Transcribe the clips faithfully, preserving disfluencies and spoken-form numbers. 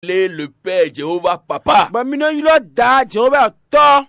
Appelez le Père Jéhovah Papa. Bɔ mi nɔ ylɔ́ Daa Jehova Tɔ́,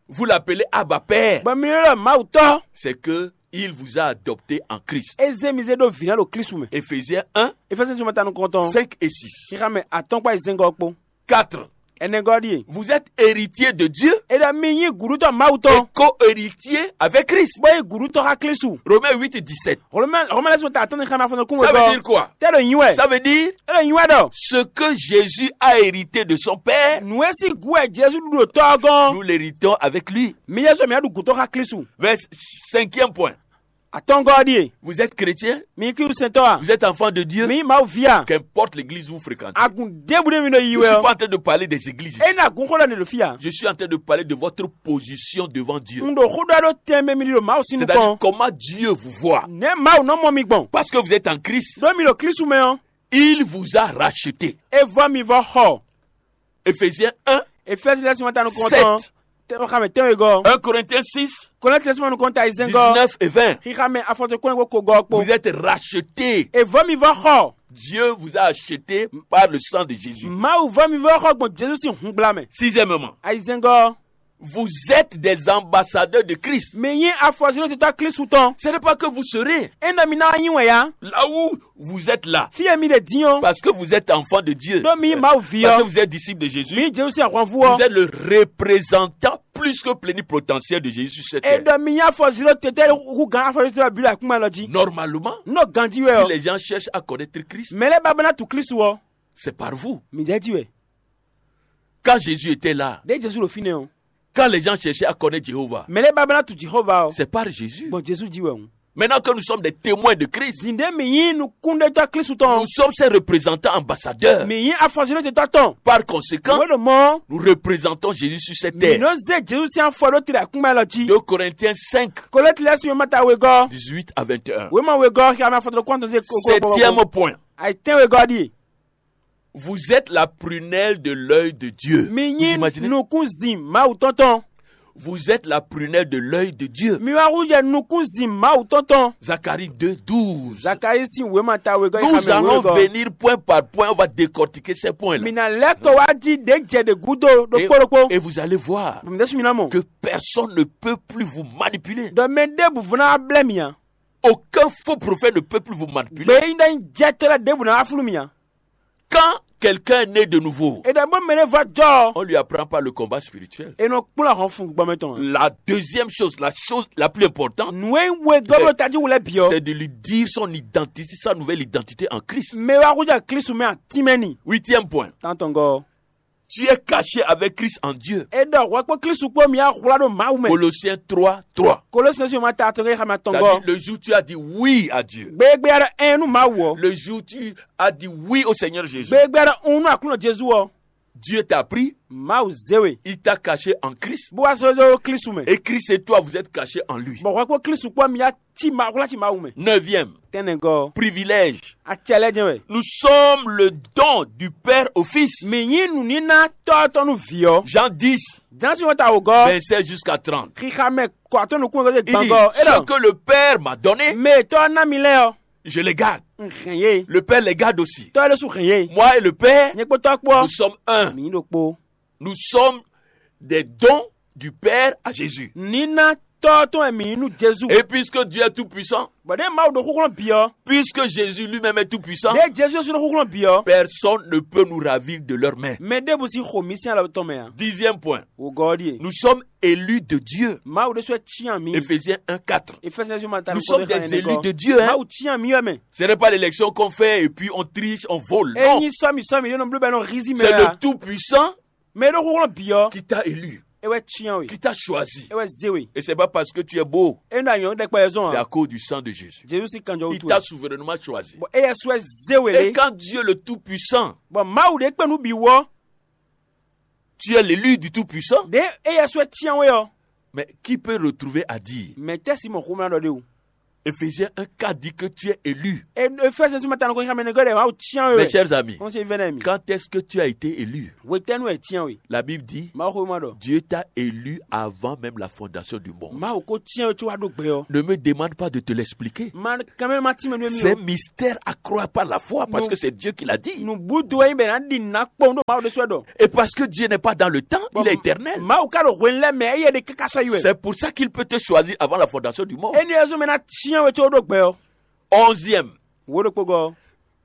Vous l'appelez Abba Père. Bɔ mi nɔ ylɔ́ Mawu Tɔ́. C'est que il vous a adopté en Christ. É zé mi zé ɖó vǐ ná ɖo Klísu mɛ. Éphésiens un, Efɛsɛ sɔmɔta nukɔntɔn, cinq et six. Xixa mɛ atɔ́nkpá yi zɛ́ngɔ́ kpó. Quatre. Ɛnɛgɔ́ ɖíe. Vous êtes héritier de Dieu É ɖɔ mi nyí gǔɖútɔ́ Mawu et tɔn, co-héritier avec Christ. Bó nyí gǔɖútɔ́ xá Klísu. Romains huit, dix-sept. Hlɔ̌mɛ hlɔ̌mɛ lɛ́ɛ sɔn ta atɔ́nní xá ma fɔ́n nukún Ça veut wegɔ́. Dire quoi? Tɛ́ ɖo nyi wɛ. Ça veut dire Tɛ́ ɖo nyi wɛ ɖɔ. Ce que Jésus a hérité de son Père, Nǔ e sín gǔ wɛ Jezu ɖu ɖo Tɔ́ ɔ́ gɔ́n. Nous l'héritons avec lui. Mi Jezu mi ɖu gǔtɔ́ xá Klísu. Verset cinquième point. Atɔ́ngɔ́ ɔ́ ɖíe. Vous êtes chrétien? Mi nyí Klísu sɛntɔ́ a? Vous êtes enfant de Dieu? Mi nyí Mawu ví a? Qu'importe l'église où vous fréquentez. Agun ɖěbǔ ɖé mi ɖo yi Je ne wɛ suis pas en ɔ́. Train de parler des églises ici. É ná gǔn xó ɖɔ ne ɖo fí a? Je suis en train de parler de votre position devant Dieu. Un ɖo xó ɖɔ ɖó tɛnmɛ mi ɖi ɖo Mawu sín C'est-à-dire nukɔn. Comment Dieu vous voit. Nɛ̌ Mawu nɔ mɔ mi gbɔn? Parce que vous êtes en Christ. Ɖó mi ɖo Klísu mɛ ɔ́. Il vous a racheté. É vɔ mi vɔ xɔ. Éphésiens un, Efɛ́si lɛ́ɛ sín wɛ́nta nukɔntɔn. Sept. Tɛ́nxamɛ tɛ́nwegɔ́. Un Corinthiens six, Kɔlɛ́nti lɛ́ɛ sín wɛ́nta nukɔntɔn ayizɛ́ngɔ́. Dix-neuf et vingt. Xixamɛ afɔtɔn kɔn ko gɔ́ kpó. Vous êtes racheté. È vɔ́ mi vɔ́ xɔ. Dieu vous a acheté par le sang de Jésus. Mawu vɔ́ mi vɔ́ xɔ gbɔn Jezu sín hun gbla mɛ. Sixièmement, Ayizɛ́ngɔ́. Vous êtes des ambassadeurs de Christ. Mi nyí afɔzilótetɔ́ Klísu tɔn. Ce n'est pas que vous serez É nɔ mi ná wá nyí wɛn ya. Là où vous êtes là. Fí e mi ɖe dín ɔ́. Parce que vous êtes enfant de Dieu. Ɖó mi nyí Mawu ví Parce que ɔ́. Vous êtes disciple de Jésus. Mi nyí Jezu sín ahwanvú Vous ɔ́. Êtes le représentant plus que plénipotentiel de Jésus sur cette É terre. Ɖɔ mi nyí afɔzilótetɔ́ hú gǎn afɔzilótetɔ́ bǐ ɖo akúnmɛ lɔ jí. Normalement, Nɔ ganjí wɛ si ɔ́. Les gens cherchent à connaître Christ, Mɛ lɛ́ɛ ba bɔ ná tu Klísu ɔ́. C'est par vous. Mi ɖɛ́ jí wɛ. Quand Jésus était là, Ɖé Jezu ɖo fínɛ́ ɔ́. Quand les gens cherchaient à connaître Jéhovah, Mɛ lɛ́ɛ ba bɔ ná tu Jihova ɔ́. C'est par Jésus. Gbɔn Jezu jí wɛ hǔn. Maintenant que nous sommes des témoins de Christ, Zǐndé mǐ nyí nukúnɖétɔ́ Klísu nous tɔn. Sommes ses représentants ambassadeurs. Mǐ nyí afɔzilótetɔ́ tɔn. Par conséquent, Nǔ e ɖo mɔ̌, nous représentons Jésus sur cette mǐ terre. Nɔ zé Jezu sín afɔ ɖó tirɛ akúngbá lɔ jí. Deux Corinthiens cinq, Kolɛ́ti lɛ́ɛ sín wěma ta wegɔ́. Dix-huit à vingt et un. Wěma wegɔ́ xyamɛ afɔtɔn kɔntɔn zé kókó. Septième point. Ayitɛ́n wegɔ́ ɖíe. Vous êtes la prunelle de l'œil de Dieu. Mi Vous nyí imaginez? Nukúnzin Mawu tɔn tɔn. Vous êtes la prunelle de l'œil de Dieu. Mi wá hu jɛ nukúnzin Mawu tɔn tɔn. Zacharie deux douze. Zakalísi wěma ta wegɔ́ Nous allons wegɔ́. Venir point par point, on va décortiquer ces points-là. Mi ná lɛ́ kɔ wá jí ɖě jɛ ɖě gúdo ɖokpó ɖokpó. Et vous allez voir Bɔ mi ɖésú mi ná mɔ. Que personne ne peut plus vous manipuler. Ɖɔ mɛ ɖěbǔ vɔ́ ná wá blɛ́ mi ǎ. Aucun faux prophète ne peut plus vous manipuler. Gbeyíɖɔ nyí jɛtɔ́ lɛ́ɛ ɖěbǔ ná wá flú mi ǎ. Quand quelqu'un est né de nouveau, É ɖɔ bó mɛ ɖé vɔ́ jɔ ɔ́, On lui apprend pas le combat spirituel. É nɔ kplɔ́n ahɔn fun gbɔmɛ tɔn. La deuxième chose, la chose la plus importante, Nǔ e nyí wegɔ́ ɖo tají wú lɛ́ɛ bǐ ɔ́. C'est de lui dire son identité, sa nouvelle identité en Christ. Mɛ wá xójá Klísu mɛ atínmɛ ni. Huitième point. Tántɔngɔ́. Tu es caché avec Christ en Dieu. É ɖɔ hwɛ kpó Klísu kpó mi axwlá ɖo Mawu mɛ. Colossiens trois trois. Kolosɛ́n sɔ́ ma ta atɔngɔ́ xamɛ C'est-à-dire, atɔngɔ́. Le jour où tu as dit oui à Dieu. Gbégbé aɖɔ ɛn nú Mawu ɔ́. Le jour où tu as dit oui au Seigneur Jésus. Gbégbé aɖɔ un nú Aklúnɔ Jezu ɔ́. Dieu t'a pris. Mawu zé we. Il t'a caché en Christ. Bó wá sɔ́ ɖó Klísu mɛ. Et Christ et toi, vous êtes cachés en lui. Bɔ hwɛ kpó Klísu kpó mi ya cí ma xwlá cí Mawu mɛ. Neuvième, Tɛnɛgɔ́. Privilège. Acɛ lɛ́ jɛ́n wɛ. Nous sommes le don du Père au Fils. Mǐ nyí nǔníná tɔ́ tɔn nú vǐ ɔ́. Jean dix, Jǎnsi wɛn ta wǒgɔ́. Vingt-seize jusqu'à trente. Xixa mɛ kɔ atɔ́ nukún wɛ Il dit, gbangɔ. Ce que le Père m'a donné, Mɛ tɔ́ ná mi lɛ́ɛ ɔ́. Je les garde. Un hɛn yé. Le Père les garde aussi. Tɔ́ ɖésú hɛn yé. Moi et le Père, Nyɛ kpó tɔ́ kpó ɔ́. Nous sommes un. Mǐ ɖo kpó. Nous sommes des dons du Père à Jésus. Nǐná tɔ́ tɔn wɛ mǐ nyí nú Jezu. Et puisque Dieu est tout-puissant, Bɔ ɖěe Mawu ɖo xúxlɔ́n bǐ ɔ́. Puisque Jésus lui-même est tout-puissant, Ɖěe Jezu ɔ́ ɖo xúxlɔ́n bǐ ɔ́. Personne ne peut nous ravir de leur main. Mɛ ɖěbǔ sí xo mǐ sín alɔ tɔn mɛ ǎ. Dixième point. Wǒgɔ́ ɔ́ ɖíe. Nous sommes élus de Dieu. Mawu ɖésú wɛ cyán mǐ. Éphésiens un quatre. Efɛsɛsɛ ma ta Nous sommes des élus de Dieu, hein. Mawu cyán mǐ wɛ mɛ. Ce n'est pas l'élection qu'on fait et puis on triche, on vole. Non. Ényí sɔ́mi sɔ́mi ɖé nɔ bló bɛ nɔ hízí mɛ. C'est le tout-puissant Mɛ e ɖo xúxlɔ́n bǐ ɔ́. Qui t'a élu, É wɛ cyán we. Qui t'a choisi. É wɛ zé we. Et c'est pas parce que tu es beau. É ɖo anyɔ̌ ɖɛkpɛ zɔn. C'est à cause du sang de Jésus. Jezu sí kanjɔ Il t'a souverainement choisi. Bɔ éyɛ sɔ́ ɛ zé we. Et quand Dieu le Tout-Puissant, Bɔ Mawu ɖe kpé nú bǐ wú ɔ́. Tu es l'élu du Tout-Puissant. Ɖě éyɛ sɔ́ ɛ cyán we ɔ́. Mais qui peut retrouver à dire, Mɛ tɛ́ si mɔ xomlá ɖɔ ɖé o. Éphésiens un quatre dit que tu es élu. Efésiens sima tanu kɔn xamɛ nɛgɔ ɖe Mawu tiɲa we. Mes chers amis, kɔn se vɛnɛ mi. Quand est-ce que tu as été élu? Wetɛnu ɛ tiɲa we. La Bible dit, Mawu xo ma ɖɔ. Dieu t'a élu avant même la fondation du monde. Mawu ko tiɲa we tso wa ɖo gbɛ ɔ. Ne me demande pas de te l'expliquer. Ma kɛmɛ ma ti mɛ nú mi. C'est un mystère à croire par la foi parce que c'est Dieu qui l'a dit. Nubudo yin bɛ na ɖi na kpɔn ɖo Mawu ɖe sɔ ɖɔ. Et parce que Dieu n'est pas dans le temps, il est éternel. Mawu ka ɖo hwenu lɛ mɛ eye ɖe kaka sɔ yi wɛ. C'est pour ça qu'il peut te choisir avant la fondation du monde. Eni ezɔ mɛ na tiɲɛ we tso ɖo gbɛ ɔ. Onzième. Wo ɖo kpogɔ.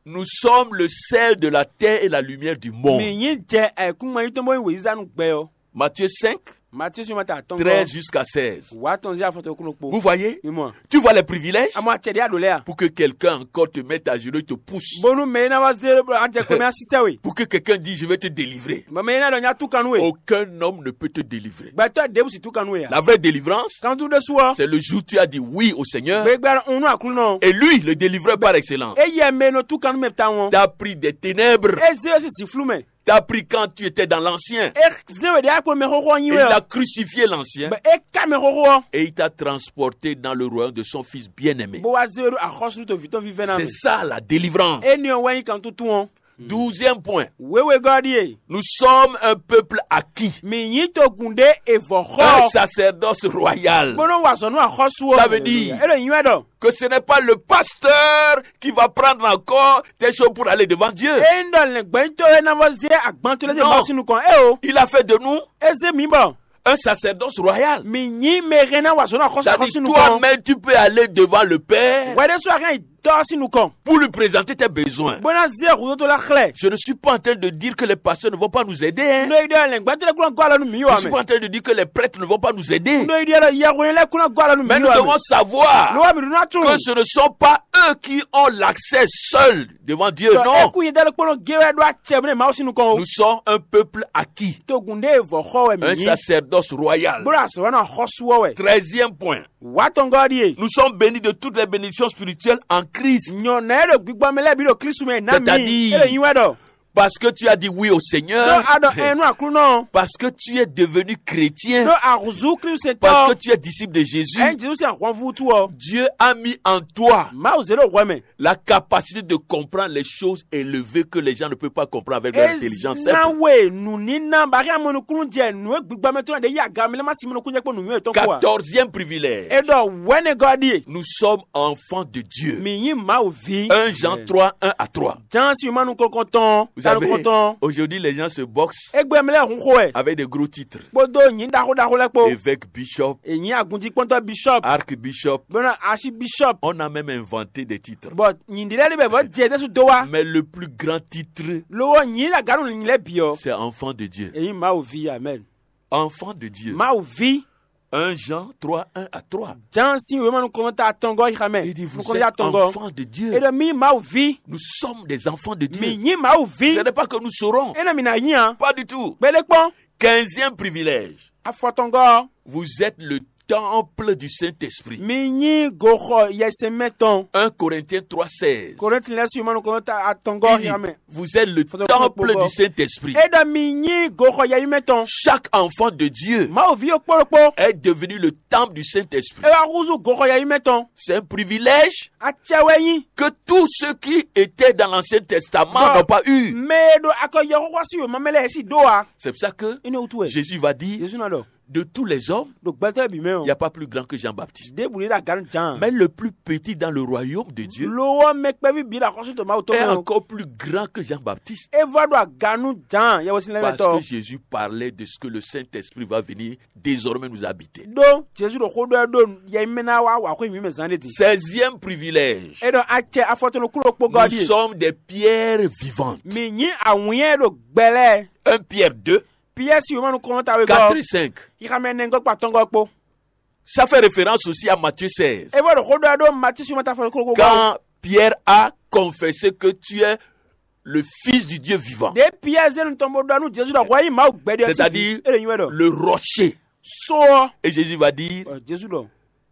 Nous sommes le sel de la terre et la lumière du monde. Mi nyi jɛ ayikúngban yi tɔn bɔ yi weyizanu gbɛ ɔ. Matthieu cinq, Matthieu sima ta atɔn treize jusqu'à seize. Wa tɔn zi afɔtɔ kúnɔ kpo. Vous voyez? Mi mɔ. Tu vois les privilèges? Amɔ atsɛ ɖe aɖo lɛ a. Pour que quelqu'un encore te mette à genoux et te pousse. Bonu mɛ ina wa zé adze kɔmɛ asisɛ we. Pour que quelqu'un dise, je vais te délivrer. Mɛ ina dɔ nya tu kanu we. Aucun homme ne peut te délivrer. Gbɛtɔ ɖebu si tu kanu we a. La vraie délivrance, kantu ɖe su ɔ. C'est le jour où tu as dit oui au Seigneur. Gbegbe unu aklunɔ. Et lui, le délivreur par excellence, Eye mɛ nɔ tu kanu mɛ ta wɔn. T'a pris des ténèbres. Eze si ziflu mɛ. T'a pris quand tu étais dans l'ancien. E zé we ɖe akpo mɛ xɔxɔ nyi Et we il a ɔ. Crucifié l'ancien. Bɛ e ka mɛ xɔxɔ ɔ. Et il t'a transporté dans le royaume de son fils bien-aimé. Bó wá zé we ɖo axɔsúɖuto vǐ tɔn vívɛ́ná C'est mɛ. Ça la délivrance. Eni ɔ wɛ nyí kan tuntun ɔ. Douzième point. Wéwegɔ́ ɖíe. Nous sommes un peuple acquis. Mǐ nyí togun ɖé e vɔ̌ xɔ. Un sacerdoce royal. Bó nɔ wa azɔ̌ nú axɔ́sú ɔ́. Ça veut dire, E ɖo nyi wɛ ɖɔ. Que ce n'est pas le pasteur qui va prendre encore tes choses pour aller devant Dieu. Ényí ɖɔ lɛ̌ngbɛ́nyítɔ́ e ná vɔ zé agban towe lɛ́ɛ dó Mawu sín nukɔn é o. Il a fait de nous. É zé mǐ bɔ. Un sacerdoce royal. Mǐ nyí mɛ e hɛn ná wa azɔ̌ nú axɔ́sú axɔ́sú nukɔn. C'est-à-dire, toi-même, tu peux aller devant le Père. Hwɛ ɖésú a hɛn yi Tɔ́ ɔ́ sín nukɔn. Pour lui présenter tes besoins. Bó ná zé hǔzótó lɛ́ xlɛ́. Je ne suis pas en train de dire que les pasteurs ne vont pas nous aider, hein. Nú é ɖɔ lɛ̌ngbɛ́tɔ́ lɛ́ɛ kún ná gɔ́ alɔ nú mǐ Je wɛ suis mɛ. Pas en train de dire que les prêtres ne vont pas nous aider. Nú é ɖɔ yɛhwenyɛ́ lɛ́ɛ kún ná gɔ́ alɔ nú mǐ wɛ mɛ. Mais nous devons savoir Lo wɛ mǐ ɖó ná tunwun. Que ce ne sont pas eux qui ont l'accès seul devant Dieu. Non. É kún nyɛ dɛ́ ɖokpónɔ gé wɛ ɖó acɛ bó ɖe Mawu sín nukɔn o. Nous sommes un peuple acquis. Togun ɖé e vɔ̌ xɔ wɛ mǐ Un nyí. Sacerdoce royal. Bó ɖo azɔ̌ wɛ nɔ xɔ́sú ɔ́ wɛ. Treizième point. Wǎ tɔngɔ́ ɔ́ ɖíe. Nous sommes bénis de toutes les bénédictions spirituelles en Christ. Nyɔ̌nu e ɖo gbigbɔ mɛ lɛ́ɛ bǐ ɖo Klísu mɛ ná mǐ. C'est-à-dire, E ɖo nyi wɛ ɖɔ. Parce que tu as dit oui au Seigneur. Ɖó a ɖɔ ɛn nú Aklúnɔ. Parce que tu es devenu chrétien. Ɖó a húzú Klísu sɛntɔ́. Parce que tu es disciple de Jésus. Ɛn Jezu sín ahwanvú wútu ɔ. Dieu a mis en toi Mawu zé ɖo hwɛ mɛ. La capacité de comprendre les choses élevées que les gens ne peuvent pas comprendre avec leur intelligence simple. Ná we nǔníná bá hɛn amɔnukúnnú jɛ nǔ e gbigbɔ mɛ tɔn ɖe yí aga mɛ lɛ́ má sin mɔnukúnnú jɛ kpó nǔnywɛ́ yětɔn kpó a. Quatorzième privilège. É ɖɔ wɛ̌nɛgɔ́ ɖíe. Nous sommes enfants de Dieu. Mǐ nyí Mawu ví. Un Jean trois, un à trois. Jǎan sín wěma nukɔntɔn Vous savez, tɔn. Aujourd'hui, les gens se boxent Égbé mɛ lɛ́ɛ hun xo wɛ. Avec des gros titres. Kpódó nyǐ ɖaxó ɖaxó lɛ́ɛ kpó. Évêque, bishop, È nyǐ agunjíkpɔ́ntɔ́ bishop. Archbishop. Bónú asi bishop. On a même inventé des titres. Bɔ nyǐ ɖé lɛ́ɛ ɖé bɛ bɔ jɛ ɖésú dó wá. Mais le plus grand titre, Lówó nyǐ ɖo agǎnu nyǐ lɛ́ɛ bǐ ɔ. C'est enfant de Dieu. È nyǐ Mawu ví amɛn. Enfant de Dieu. Mawu ví. Un Jean trois, un à trois. Jǎan sín wěma nukɔntɔn ta atɔngɔ́ yi xamɛ. Il dit, vous êtes enfants de Dieu. É ɖɔ mí Mawu ví. Nous sommes des enfants de Dieu. Mǐ nyí Mawu ví. Ce n'est pas que nous serons. É nɔ mǐ ná nyí a. Pas du tout. Kpéɖé kpɔ́n. Quinzième privilège. Afɔtɔngɔ́. Vous êtes le temple du Saint-Esprit. Mi nyí goxɔ yɛsɛnmɛ tɔn. Un Corinthiens trois seize. Korinti lɛ́ɛ su mɔnukɔnɔ ta atɔngɔ Il dit, ya mɛ. Vous êtes le temple du Saint-Esprit. É ɖɔ mi nyí goxɔ yɛyimɛ tɔn. Chaque enfant de Dieu Mawu ví yókpóɖokpó. Est devenu le temple du Saint-Esprit. É wá húzú goxɔ yɛyimɛ tɔn. C'est un privilège Acɛ wɛ nyí. Que tous ceux qui étaient dans l'Ancien Testament n'ont pas eu. Mɛ e ɖo akɔ yɛxɔxɔ sí wěma mɛ lɛ́ɛ sí ɖó a. C'est pour ça que Inú wutu wɛ. Jésus va dire, Jesu na ɖɔ. De tous les hommes, Ɖo gbɛtɔ́ bǐ mɛ il n'y a ɔ. Pas plus grand que Jean-Baptiste. Ɖěbǔ ɖé ɖo agǎnu Jǎan. Mais le plus petit dans le royaume de Dieu Lo ɔ mɛ kpɛví bǐ ɖo axɔ́sú tɔn Mawu tɔn est mɛ ɔ. Encore plus grand que Jean-Baptiste. É vɔ ɖo agǎnu Jǎan yɛwɛsin lɛ́ɛ Parce tɔ. Que Jésus parlait de ce que le Saint-Esprit va venir désormais nous habiter. Ɖó Jesu ɖo xó ɖɔ ɖó yɛmɛ ná wá wǎ xwé mǐ mɛ zán ɖé din. Seizième privilège. É ɖɔ acɛ afɔtɔnukúlokpogɔ́ Nous ɖíe. Sommes des pierres vivantes. Mǐ nyí awǐnnya e ɖo gbɛ lɛ́ɛ. Un Pierre deux, Piyɛ́ɛ si wěma nukɔntɔn ta wegɔ́. Quatre et cinq. Xixamɛ nɛgɔ́ kpa tɔngɔ́ kpó. Ça fait référence aussi à Matthieu seize. É vɔ ɖo xó ɖɔ ɖó Matísi wěma ta fɔ kókó. Quand Pierre a confessé que tu es le Fils du Dieu vivant. Ɖě Piyɛ́ɛ zé nu tɔn bó ɖɔ nú Jezu ɖɔ hwɛ nyí Mawu gbɛɖe ɔ́ sín. C'est-à-dire, é ɖo nyi wɛ ɖɔ. Le rocher. Só ɔ́. Et Jésus va dire, Jezu ɖɔ.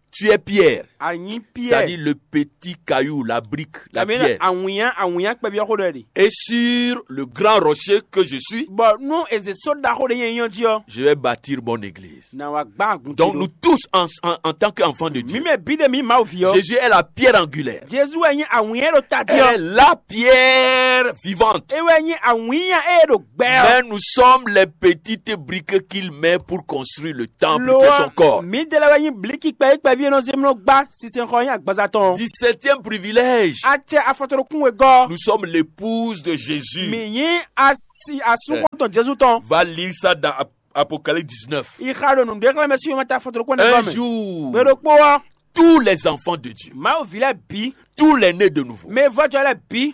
Tu es pierre, anyi c'est-à-dire piɛ le petit caillou, la brique, la kàmí pierre. Awunya awunya kpɛbyɔ́ xó ɖɔ ɖi. Et sur le grand rocher que je suis, Bɔ nú eze só ɖaxó ɖe nyɛ nyɔ́ jí ɔ́, je vais bâtir mon église. na wa gbá agun Donc nous tous, en, en- en tant qu'enfants de Mi Dieu, mɛ bí ɖe mi Mawu ví ɔ́, Jésus est la pierre angulaire. Jezu wɛ nyí awunya ɖo ta jí Elle ɔ́. Est la pierre vivante. E wɛ nyí awunya e ɖo gbɛ ɔ́. Mais nous sommes les petites briques qu'il met pour construire le temple qui est son Lo corps. Mi de lɛ wɛ nyí bliki kpɛ kpɛví e nɔ zé mlɔ gbá sinsɛnxɔ nyí agbaza tɔn. Dix-septième privilège. Atɛ afɔtɔnukun wegɔ́. Nous sommes l'épouse de Jésus. Mi nyí asi asúnkɔn tɔn Jezu tɔn. Va lire ça dans Ap- Apocalypse dix-neuf. Ixa ɖo nǔɖé xlɛ́ mɛ sí yɔmɛ ta afɔtɔnukun ne Un gɔ́ mɛ. jour, Gbeɖokpó ɔ́, tous les enfants de Dieu, Mawu ví lɛ́ɛ bǐ, tous les nés de nouveau, mɛ vɔ́jɔ lɛ́ɛ bǐ,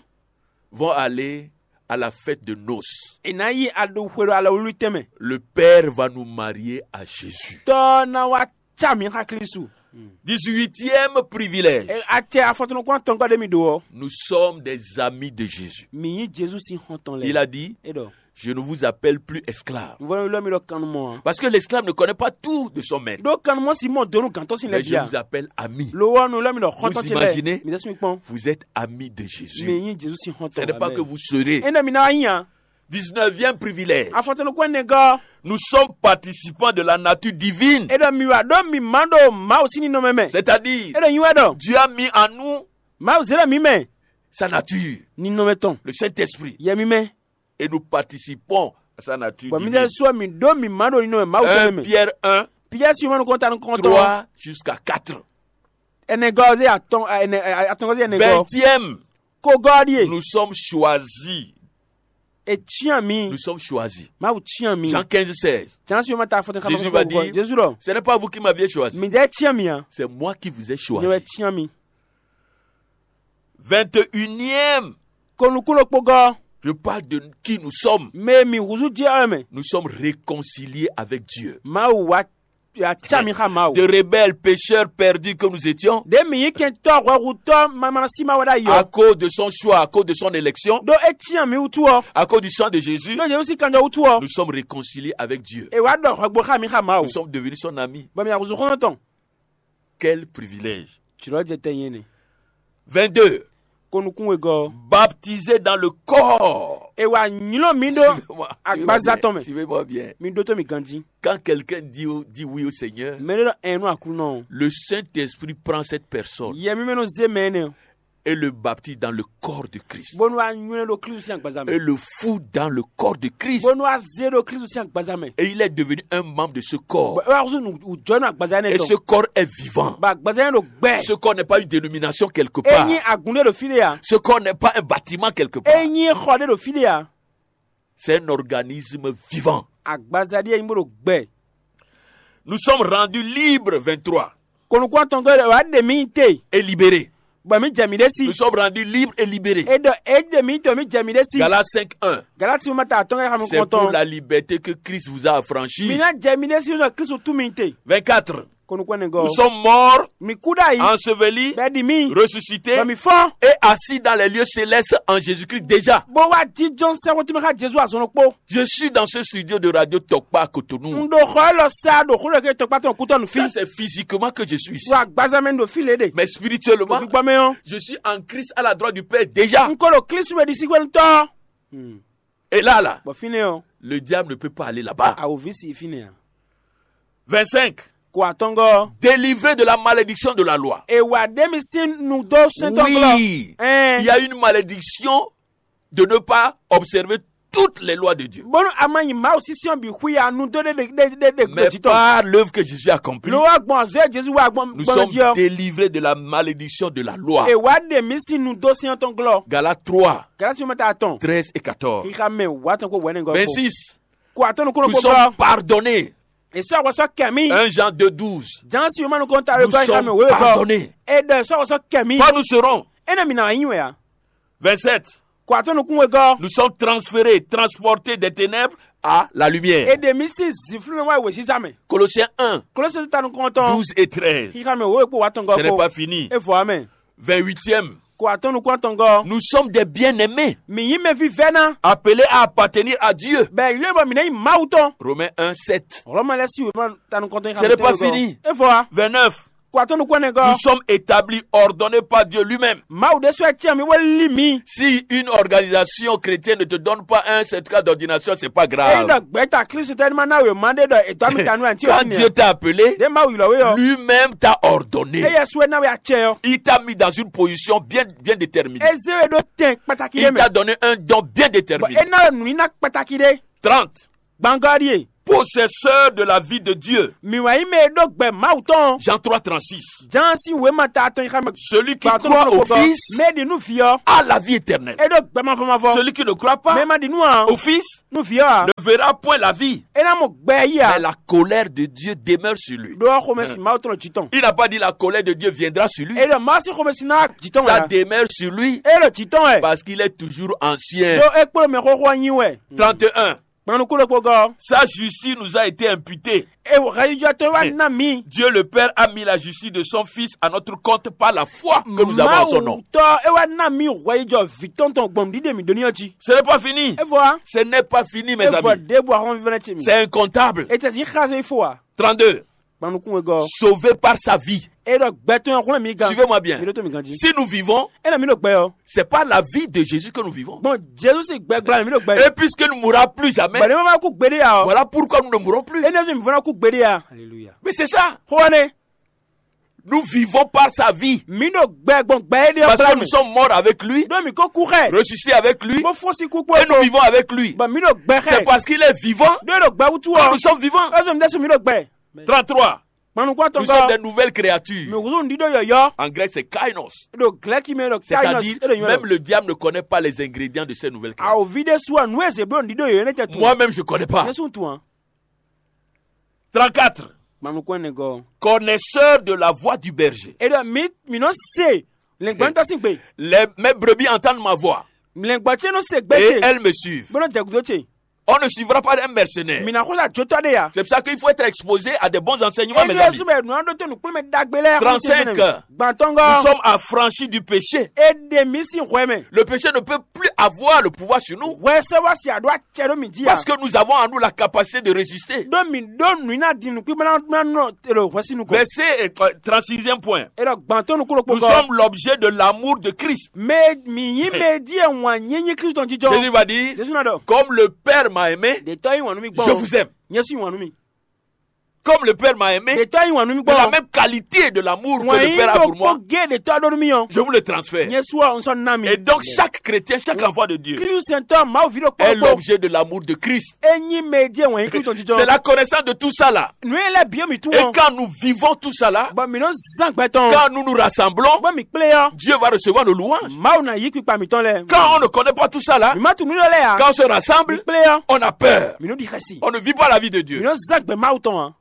vont aller à la fête de noces. è nǎ yi aɖo xwe ɖo alɔwlíwlí tɛnmɛ. Le Père va nous marier à Jésus. Tɔ́ ná wá cá mǐ xá Klísu. Dix-huitième privilège. E- Atɛ afɔtɔnukun atɔngɔ́ ɖé mi ɖo ɔ́, Nous sommes des amis de Jésus. mǐ nyí Jezu sín xɔ́ntɔn Il lɛ́ɛ. A dit, É ɖɔ, je ne vous appelle plus esclave. Nǔvɔ́ ylɔ́ mi ɖɔ kannumɔ ǎ. Parce que l'esclave ne connaît pas tout de son maître. Ɖó kannumɔ sí mɔ donu gǎntɔ́ sín Mais lɛ́ je bia. Vous appelle ami. Lo ɔ́, nu ylɔ́ mi ɖɔ xɔ́ntɔ́ Vous ce imaginez? Lɛ́ɛ. Mi ɖésú mi kpɔn. Vous êtes ami de Jésus. Mi nyí Jezu sín xɔ́ntɔn. Ce n'est pas que vous serez. Énɛ́ mi ná wá nyí ǎ. Dix-neuvième privilège. Afɔtɔnukun énɛ́ gɔ́. Nous sommes participants de la nature divine. É ɖɔ mi wá ɖó mi má ɖo Mawu sín ninɔmɛ mɛ. C'est-à-dire, É ɖɔ nyi wɛ ɖɔ Dieu a mis en nous Mawu zé ɖɔ mi mɛ. Sa nature, Ninɔmɛ tɔn. Le Saint-Esprit. Yɛ mi mɛ. Et nous participons à sa nature Bɔ mi divine. lɛ sɔ mi ɖó mi má ɖo ninɔmɛ Mawu tɔn 1 mɛ. Pierre un, Pierre Simon kɔnta nukɔntɔn. trois jusqu'à quatre. Ɛnɛ gɔ́ ɔ́ zé atɔn ɛnɛ atɔngɔ́ zé ɛnɛ gɔ́. Vingtième, Ko gɔ́ ɔ́ ɖíe. Nous sommes choisis. E tiɲa mi. Nous sommes choisis. Mawu tiɲa mi. Jean quinze, seize. Jean Simon ta fɔtɛn Jésus xamɔ va kɔkɔ dire, Jesu ɖɔ. Ce n'est pas vous qui m'aviez choisi. Mi ɖe tiɲa mi a. C'est moi qui vous ai Nyɛ wɛ choisi. Tiɲa mi. Vingt et unième, Ko nukúnɖokpó gɔ́. Je parle de qui nous sommes. Mɛ mi húzú jɛ ɔ́ mɛ. Nous sommes réconciliés avec Dieu. Mawu wá ya tsa mi xa Mawu. De rebelles, pécheurs, perdus que nous étions, Ɖe mi nyí kɛntɔ́ hwɛhutɔ́ mamlasi ma wɛ ɖ'ayǐ à ɔ́. Cause de son choix, à cause de son élection, Ɖó é cyán mi wútu ɔ́. à cause du sang de Jésus, Ɖó Jezu sín kanjɔ wútu ɔ́. Nous sommes réconciliés avec Dieu. È wá ɖɔ hwɛgbo xá mi xa Mawu. Nous sommes devenus son ami. Bɔ mi axuzu xɔ́ntɔn. Quel privilège. Jlɔ́ jɛ tɛ nyɛ nɛ. Vingt-deux. Ko nukún wegɔ́. Baptisés dans le corps. È wá nylɔ́ mi ɖó. Agbaza tɔn mɛ. Suivez-moi bien. Mi ɖótó mi ganjí. Quand quelqu'un dit, au- dit oui au Seigneur, Mɛ ɖé ɖɔ ɛn nú Aklúnɔ. Le Saint-Esprit prend cette personne Yɛ mi mɛ nɔ zé mɛ nɛ. Et le baptise dans le corps de Christ. Bónú wá nywɛ́ ɖó Klísu sín agbaza Et mɛ. Le fout dans le corps de Christ. Bónú wá zé ɖó Klísu sín agbaza mɛ. Et il est devenu un membre de ce corps. Bɔ é wá xúzú nǔjɔnú agbaza énɛ́ Et ce tɔn. Corps est vivant. Bɔ agbaza énɛ́ ɖo gbɛ. Ce corps n'est pas une dénomination quelque É part. nyí agun ɖé ɖo fí ɖé a. Ce corps n'est pas un bâtiment quelque part. É nyí xɔ ɖé ɖo fí ɖé a. C'est un organisme vivant. Agbaza ɖé nyí bó ɖo gbɛ. Nous sommes rendus libres, vingt-trois, Kɔnukun atɔn gɔ́ wá ɖe mí te. Et libérés. Bɔ mí jɛ mí ɖé sí. Nous sommes rendus libres et libérés. É ɖɔ é ɖe mí te mí jɛ mí ɖé sí. Galates cinq un. Galati ma ta atɔn kɛ xamu C'est pour kɔntɔn. La liberté que Christ vous a affranchi. Mí ná jɛ mí ɖé sí nɔ Kristu tú mí te. Vingt-quatre. Kɔnukun ne gɔ́. Nous sommes morts, Mí kú ɖ'ayǐ. Ensevelis, Bɛ ɖi mí. Ressuscités Bɔ mí fɔ́n. Et assis dans les lieux célestes en Jésus-Christ déjà. Bó wá jíjɔn sɛ́xwétúmɛ xá Jezu azɔn ɖokpó. Je suis dans ce studio de Radio Tokpa à Cotonou. Un ɖo xɔ élɔ́ sá ɖo xó ɖɔ ké tɔkpá tɔn kútɔ nǔ fí. Ça, c'est physiquement que je suis ici. Wá agbaza mɛ ɖo fí lě ɖe. Mais spirituellement, Gbígbɔ mɛ ɔ́. Je suis en Christ à la droite du Père déjà. Un ko ɖo Kristu mɛ ɖi sí xwénutɔ. Et là, là, Bɔ fínɛ́ ɔ́. Le diable ne peut pas aller là-bas. Awo ví si fínɛ́ a. Vingt-cinq. Ko atɔngɔ́. Délivré de la malédiction de la loi. È wá ɖé mi sín nu dó sɛntɔglɔ. Oui. Ɛn. Il y a une malédiction de ne pas observer toutes les lois de Dieu. Bónú a ma nyi Mawu sísɛ́n bǐ xwí a nu dó ɖé ɖé ɖé ɖé Mais gbèjì tɔn. Par l'œuvre que Jésus a accomplie, Ló wá gbɔn azɔ̌ Jezu wá gbɔn Nous gbɔn sommes jí ɔ́. Délivrés de la malédiction de la loi. È wá ɖe mí sín nu dó sɛntɔglɔ. Galates trois, Galasi mɛ ta atɔn. Treize et quatorze. Xixa mɛ wá tɔn kó wɛnɛ gɔ́. Vingt-six. Ko atɔn nukúnnú Nous kó sommes gbɔ. Pardonnés. Èso àwọsọ kẹmí. Un Jean deux douze. Jansi yóò mánu kɔn ta Nous wégbá xixa sommes mɛ wéwé gɔ́. Pardonnés. È ɖɔ èso àwọsọ kẹmí. Quand nous serons É nɛ mi nà wá yín wɛ a. Vingt-sept. Ko atɔn nukún wé gɔ́. Nous sommes transférés, transportés des ténèbres à la È lumière. Ɖe mí sín zǐnflú mɛ wá wěziza mɛ. Colossiens un, Kolose ta nukɔn tɔn. Douze et treize. Xixa mɛ wéwé kpó wá tɔn gɔ́ Ce n'est kpó. Pas fini. É vɔ mɛ. Vingt-huitième. Ko atɔn nukún atɔn gɔ́. Nous sommes des bien-aimés, Mǐ nyí mɛ vívɛ́ ná. Appelés à appartenir à Dieu. Bɛ yìló bɔ mǐ ná nyí Mawu tɔn. Romains un sept. Hlɔ̌mɔ lɛ́ɛ sí wěma ta nukɔn tɔn. Ce n'est pas fini. É vɔ wá. Vingt-neuf. Kó atɔ́ nukún ɛnɛ gɔ́. Nous sommes établis, ordonnés par Dieu lui-même. Mawu ɖésú wɛ cyán mì bó lí mǐ. Si une organisation chrétienne ne te donne pas un certificat d'ordination, c'est pas grave. Ényí ɖɔ gbɛ̌ta Klísu tɛ́ ní ma ná wěma ɖé ɖɔ è dɔ́ mì ta nú ǎ ní cí Quand Dieu t'a appelé, ɖé Mawu ylɔ́ we ɔ́. Lui-même t'a ordonné. Éyɛ́ sú é ná we acɛ ɔ́. Il t'a mis dans une position bien, bien déterminée. É zé we ɖó tɛn kpátákí Il ɖé mɛ. T'a donné un don bien Bɔ déterminé. É ná we nǔ ní ná kpátákí ɖé. Trente. Gbangɔ́ ɖíe. Possesseur de la vie de Dieu. Mǐ wɛ nyí mɛ e ɖó gbɛ Mawu tɔn. Jean trois trente-six. Jǎn sín wěma ta atɔn xá mɛ. Celui qui Gbà tó croit nɔ au kpɔ́. Fils Mɛ e ɖi nú vǐ ɔ́. A la vie éternelle. É ɖó gbɛ mavɔ mavɔ. Celui qui ne croit pas Mɛ e ma ɖi nú ǎ. Au Fils Nú vǐ ɔ́ ǎ. Ne verra point la vie. É ná mɔ gbɛ yí Mais ǎ. La colère de Dieu demeure sur lui. Ɖó xomɛsin Mawu tɔn jǐ tɔn. Il n'a pas dit la colère de Dieu viendra sur lui. É ɖɔ Mawu sín xomɛsin ná jǐ tɔn Ça wɛ. Demeure sur lui É ɖo jǐ tɔn wɛ. Parce qu'il est toujours ancien. Ɖó é kplɔ́n mɛ xóxó ɔ́ nyi wɛ. Trente et un. Kpannukún ɖokpó gɔ́. Sa justice nous a été imputée. E hɛyijɔ tɔn wá ná mì. Dieu le Père a mis la justice de son Fils à notre compte par la foi que nous avons en son nom. Mawu tɔ e wá ná mì hwɛyijɔ vǐ tɔn tɔn gbɔn ɖiɖe mì ɖó ní ɔ́ jí. Ce n'est pas fini. E vɔ a. Ce n'est pas fini, mes E vɔ amis. Ɖěbǔ ahɔn vívɛ́ ce mi. C'est incontable. E tɛ si xá se fo a. Trente-deux. Kpannukún e gɔ́. Sauvé par sa vie. E ɖɔ gbɛtɔn hwlɛn mi gan. Suivez-moi bien. Mi ɖo to mi gan jí. Si nous vivons, E na mi ɖo gbɛ ɔ. C'est par la vie de Jésus que nous vivons. Bon, Jésus si gbɛ gbla mi ɖo gbɛ. Et puisque nous ne mourrons plus jamais, Bɔn ne ma kú gbeɖe ya ɔ. Voilà pourquoi nous ne mourrons plus. E ne mi vɔna kú gbeɖe ya. Alléluia. Mais c'est ça. Xɔ ne. Nous vivons par sa vie. Mi ɖo gbɛ gbɔn gbɛ e ɖe Parce que ɔkpla nous mi. Sommes morts avec lui, Ɖo mi ko kú xɛ. Ressuscités avec lui, Ko fɔsi kú kpó. Et nous vivons avec lui. Bɔn mi ɖo gbɛ xɛ. C'est parce qu'il est vivant Ɖo e ɖo gbɛ wutu que ɔ. Nous sommes vivants. Ɛsɛ mi ɖe su mi ɖo gbɛ. Trente-trois. Kpannukpɔn Nous sommes des nouvelles créatures. Mi huzun ɖiɖo yɔyɔ. En grec, c'est kainos. Ɖo glɛki mɛ ɖo kainos. C'est-à-dire, e ɖo nyɔ. Même le diable ne connaît pas les ingrédients de ces nouvelles créatures. Awo vi ɖe su anu eze blo ɖiɖo yɔyɔ ne tɛ tu. Moi-même, je connais pas. Ne sun tu an. Trente-quatre. Kpannukpɔn ne gɔ. Connaisseur de la voix du berger. E ɖɔ mi mi nɔ se lɛngbɔntɔ sin gbe. Les, mes brebis entendent ma voix. Lɛngbɔ ce nɔ se gbe Et ce. Elles me suivent. Bolo jɛgudo ce. On ne suivra pas un mercenaire. Mina xó la jotɔ ɖe ya. C'est pour ça qu'il faut être exposé à des bons enseignements, mes amis. Ebi esu bɛ nua ɖo to nukplɔn mɛ dagbe lɛ. Trente-cinq. Gbantɔngɔ. Nous sommes affranchis du péché. E ɖe mi sin hwɛ mɛ. Le péché ne peut plus avoir le pouvoir sur nous. Hwɛ sɛ wa si aɖo acɛ ɖo mi jí ya. Parce que nous avons en nous la capacité de résister. Ɖo mi ɖo nu ina di nukpimɛ na nɔ elo hwɛ si nukɔ. Verset euh, trente-sixième point. E ɖɔ gbantɔ nukun ɖokpó Nous gɔ. Sommes l'objet de l'amour de Christ. Mɛ mi yí mɛ di ɛ wàn nyí nyí Kristu jijɔ. Jésus va dire, Jesu na ɖɔ. Comme le Père m'a aimé, Ɖetɔ yi wàn nú mi gbɔ. Je vous aime. Nyɛ su yi wàn nú mi. Comme le Père m'a aimé, Ɖetɔ yi wàn nú mi de la gbɔ. Même qualité de l'amour que Wàn le yí Père a pour moi, ɖokpó gé ɖetɔ ɖo nú mi ɔ. Je vous le transfère. Nyɛ su ɔ n sɔ ná mi. Et donc, chaque chrétien, chaque enfant de Dieu Kristu sɛntɔ Mawu vi ɖokpó est ɖokpó. L'objet de l'amour de Christ. E nyi mɛ di ɛ wàn nyí Kristu jijɔ. C'est la connaissance de tout ça là. Nu e lɛ bi mi tu Et ɔ. Quand nous vivons tout ça là, Bɔn mi nɔ zan gbɛtɔn. Quand nous nous rassemblons, Bɔn mi kplé ɔ. Dieu va recevoir nos louanges. Mawu na yí kpikpa mitɔn lɛ. Quand on ne connaît pas tout ça là, Mi ma tu nu lɛ lɛ ya. Quand on se rassemble, Mi kplé ɔ. On a peur. Mi nɔ di xɛsi. On ne vit pas la vie de Mi Dieu. Nɔ zan gbɛ Mawu tɔn a.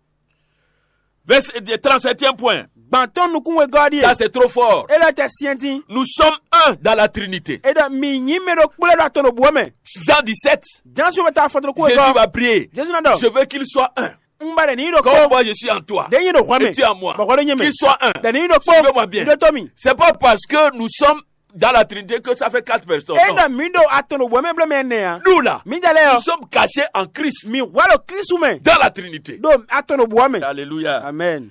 Verset trente-septième point. Gbantɔn nukun we gɔ di. Ça, c'est trop fort. E lɛ tɛ siɛntin. Nous sommes un dans la Trinité. E ɖɔ mi nyi mɛ ɖo kplé ɖo atɔn ɖo bu mɛ. Jean dix-sept. Jansu bɛ taa fɔtɔn kú we Jésus gɔ. Va prier. Jesu na ɖɔ. Je veux qu'il soit un. N ba ɖe ni ɖo Comme kpɔ. Moi, je suis en toi. Ɖe nyi ɖo hwɛ mɛ. Et tu en moi. Bɔkɔ ɖe nye mɛ. Qu'il soit un. Ɖe ni ɖo kpɔ. Suivez-moi bien. Ɖo to mi. C'est pas parce que nous sommes dans la Trinité que ça fait quatre personnes. E Non. Ɖe mi ɖo atɔn ɖo bɔ mɛ blɔ mɛ nɛ a. Nous là, Mi da lɛ nous yɔ. Sommes cachés en Christ. Mi wà ɖo Kristu mɛ. Dans la Trinité. Ɖo atɔn ɖo bɔ mɛ. Alléluia. Amen.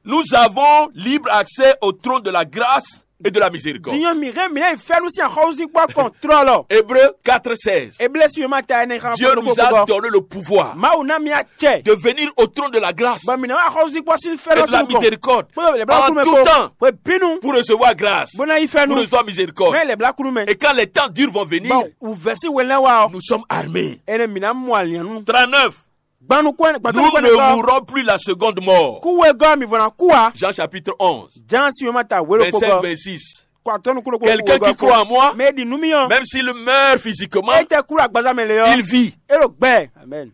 Nous avons libre accès au trône de la grâce et de la miséricorde. Diɲɔ mi hɛn mi lɛ fɛnu sin axɔwuzinkpɔ kɔntrɔlɔ. Hébreux quatre seize. Eble si ma ta ɛnɛ xan Dieu nous a donné le pouvoir Mawu na mi acɛ. De venir au trône de la grâce Ba mi na axɔwuzinkpɔ sin et fɛnu de la sin kɔ. Miséricorde Kpɔlɔ lɛ bla en kunu mɛ tout ko. Temps Ko binu. Pour recevoir grâce, Bona yi pour fɛnu. Recevoir miséricorde. Mɛ lɛ bla kunu mɛ. Et quand les temps durs vont venir, Bon, uvɛsi wɛlɛ wa ɔ. Nous sommes armés. Ɛnɛ mi na mɔ alianu. Trente-neuf. Gbanu kɔn Nous gbanu kɔn ne kɔ. Mourrons plus la seconde mort. Ku wegɔ mi vɔna ku wa. Jean chapitre onze, Jan si ma ta wero verset kpɔgɔ. Vingt-six. Kɔ atɔnu kulo kɔ. Quelqu'un qui croit en moi, Mɛ di nu mi yɔ. Même s'il meurt physiquement, E tɛ kula gbaza mɛ le yɔ. Il vit. E ɖo gbɛ. Amen.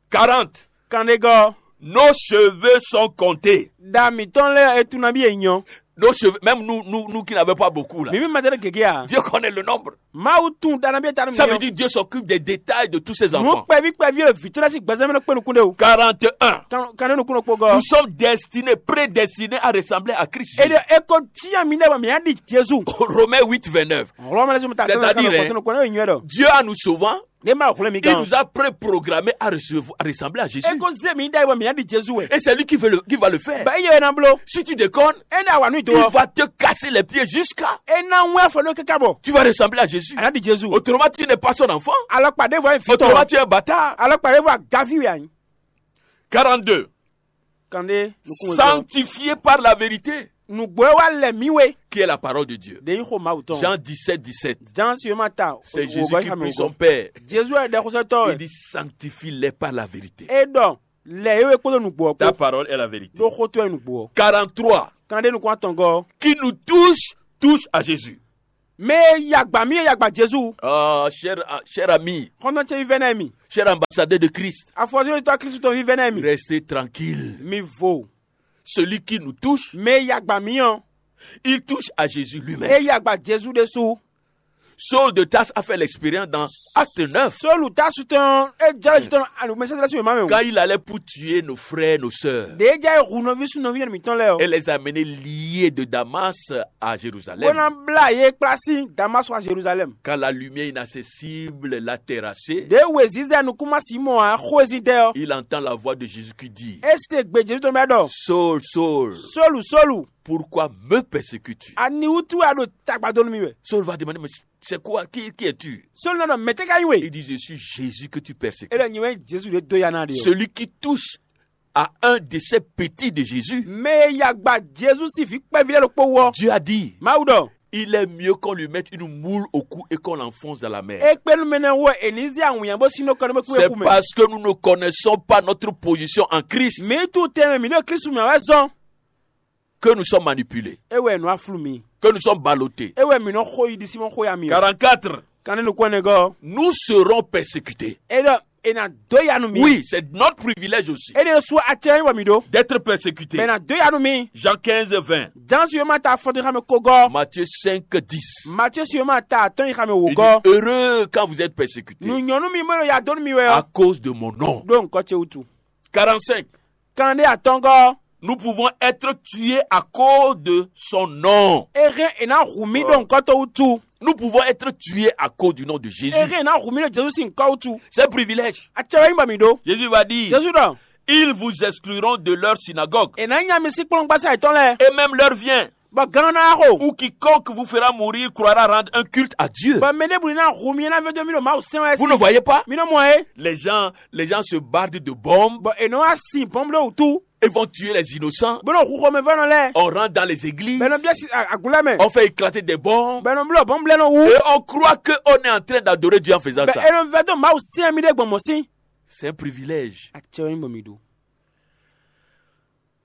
Quarante. Kande gɔ. Nos cheveux sont comptés. Da mitɔn lɛ etu na bi enyɔ. Nos cheveux, même nous, nous, nous qui n'avons pas beaucoup là. Mi mi ma tɛ gege a. Dieu connaît le nombre. Mawu tunwun ɖanabi e ta nú Ça veut mǐ. Dire Dieu s'occupe des détails de tous ses Nǔ enfants. Kpɛví kpɛví e vǐ tɔn lɛ́ sín gbɛzɛ́nmɛ nɔ kpé nukún ɖe o. Quarante et un. Kan kan ní nukún ɖokpó gɔ́. Nous sommes destinés, prédestinés à ressembler à Christ. Ede Jésus. Eko tiɲɛ mi ɖe bɔ mǐ á ɖi Jezu. Romains huit, vingt-neuf. Hlɔmɛ lɛsɛ mi ta C'est-à-dire, kɔtɔn kɔtɔn kɔtɔn yɔn dɔ. Dieu en nous sauvant, Ɖe ma hlɔn mi il gan. Nous a préprogrammés à recevoir- à ressembler à Jésus. Eko ze mi ɖe bɔ mǐ á ɖi Jezu wɛ. Et c'est lui qui, veut le, qui va le faire. Ba iye na blo. Si tu déconnes, E na wa nu do. Il Va te casser les pieds jusqu'à. E na ŋu afɔ no kaka bɔ. Tu vas ressembler à Jésus. A na ɖi Jezu. Autrement, tu n'es pas son enfant. Alɔkpa ɖe vɔ fi Autrement, tɔ. Tu es un bâtard. Alɔkpa ɖe vɔ gavi wɛ anyi. Quarante-deux. Kande nukun wɛ. Sanctifié par la vérité, Nugbo e wa lɛ mi we. Qui est la parole de Dieu. De yi xo Mawu tɔn. Jean dix-sept, dix-sept. Jean si ma ta. C'est Jésus qui prie son Père. Jesu yɛ ɖɛ xosɛtɔ. Il dit, sanctifie-les par la vérité. E ɖɔ lɛ ye we kpódó nugbo ɔ Ta kpó. Parole est la vérité. Ɖo xotɔ ye nugbo ɔ. Quarante-trois. Kande nukun atɔngɔ. Qui nous touche, touche à Jésus. Mɛ e yagba mi e yagba Jesu. Ah, cher, ah, cher ami, Xɔntɔn ce vívɛ́ nɛ mi. Cher ambassadeur de Christ, Afɔzɔyitɔ Kristu tɔn vívɛ́ nɛ mi. Restez tranquille. Mi vo. Celui qui nous touche, Mɛ e yagba mi ɔ. Il touche à Jésus lui-même. E yagba Jesu ɖésú. Saul de Tarse a fait l'expérience dans Acte neuf. Solu Tasu tɔn e jɛ ju tɔn alumɛsɛdɛlɛ si wema mɛ o. Quand il allait pour tuer nos frères, nos sœurs, Ɖe e jɛ hu nɔvi sun nɔvi yɛn mitɔn lɛ o. Et les amener liés de Damas à Jérusalem. Bó ná blá yé kplá sí Damas wá Jérusalem. Quand la lumière inaccessible l'a terrassé, Ɖe wezizɛ nukúnmá Simɔn a xwezí dɛ ɔ. Il entend la voix de Jésus qui dit, E se gbe Jesu tɔn bɛ ɖɔ. Saul, Saul, Solu Solu. Pourquoi me persécutes-tu? Ani wútu wɛ a ɖo tagba dó nú mi wɛ? Saul va demander, mais c'est quoi? Qui, qui es-tu? Solu nɔ ɖɔ mɛtɛ ka nyi we? Il dit, je suis Jésus que tu persécutes. E ɖɔ nyi wɛ Jesu ɖe dó ya ná ɖe o. Celui qui touche à un de ces petits de Jésus, Mɛ e ya gba Jesu sín vǐ kpɛví lɛ́ɛ ɖokpó wú ɔ. Dieu a dit, Mawu ɖɔ. Il est mieux qu'on lui mette une moule au cou et qu'on l'enfonce dans la mer. E kpé nú mɛ nɛ wú ɛ è ní zé awǐnnya bó sín nú kɔ nú bó kú é C'est kú mɛ. Parce que nous ne connaissons pas notre position en Christ. Mǐ tunwun tɛnmɛ mǐ ɖo Kristu mɛ wɛ zɔn. Que nous sommes manipulés, É wɛ nǔ aflu mi. Que nous sommes ballottés. É wɛ mǐ nɔ xo yi ɖi Simɔn xó ya mi. Quarante-quatre. Kan ní nukún ɛnɛ gɔ́. Nous serons persécutés. É ɖɔ è nǎ dó ya nú mi. Oui, c'est notre privilège aussi. É ɖe sú acɛ wɛ mǐ ɖó. D'être persécutés. Bɛ nǎ dó ya nú mi. Jean quinze, vingt. Jǎn su yoma ta afɔtɔn xamɛ ko gɔ́. Matthieu cinq, dix. Matthieu su yoma ta atɔn yi xamɛ wò Il gɔ́. Dit, heureux quand vous êtes persécutés. Nǔ nyɔ́ nú mi mɔ ya dó nú mi wɛ À ɔ́. Cause de mon nom. Ɖó nǔkɔ ce wútu. Quarante-cinq. Kan ɖé atɔngɔ́. Nous pouvons être tués à cause de son nom. Ere e ná hu mì ɖo ŋkɔ tɔn wútu. Nous pouvons être tués à cause du nom de Jésus. Ere e ná hu mì ɖo Jesu sín ŋkɔ wútu. C'est un privilège. Atsɛ wɛ nyí bɔ mǐ ɖó. Jésus va dire, Jesu ɖɔ. Ils vous excluront de leur synagogue. È nǎ nya mi sín kplɔ́ngbasá yětɔn lɛ́ɛ. Et même leur vient. Bɔ gán ná xo. Ou quiconque vous fera mourir croira rendre un culte à Dieu. Bɔ mɛ ɖěbǔ ná hu mi ná vɛdó mì ɖo Mawu sɛn wɛ. Vous ne voyez pas? Mi nɔ mɔ é. Les gens, les gens se bardent de bombes. Bɔ è nɔ wá sin bɔ́mbló wútu. Et vont tuer les innocents. Bó nɔ hu xɔmɛvɔ́nɔ lɛ́ɛ. On rentre dans les églises. Bɛ nɔ biɛ si agulɛ mɛ. On fait éclater des bombes. Bɛ nɔ blɔ bɔn blɛ nɔ wu. Et on croit qu'on est en train d'adorer Dieu en faisant ça. Bɛ e nɔ vɛ dó Mawu sɛn mi ɖe gbɔn mɔ sín. C'est un privilège. Atsɛ wɛ nyí bɔ mi ɖo.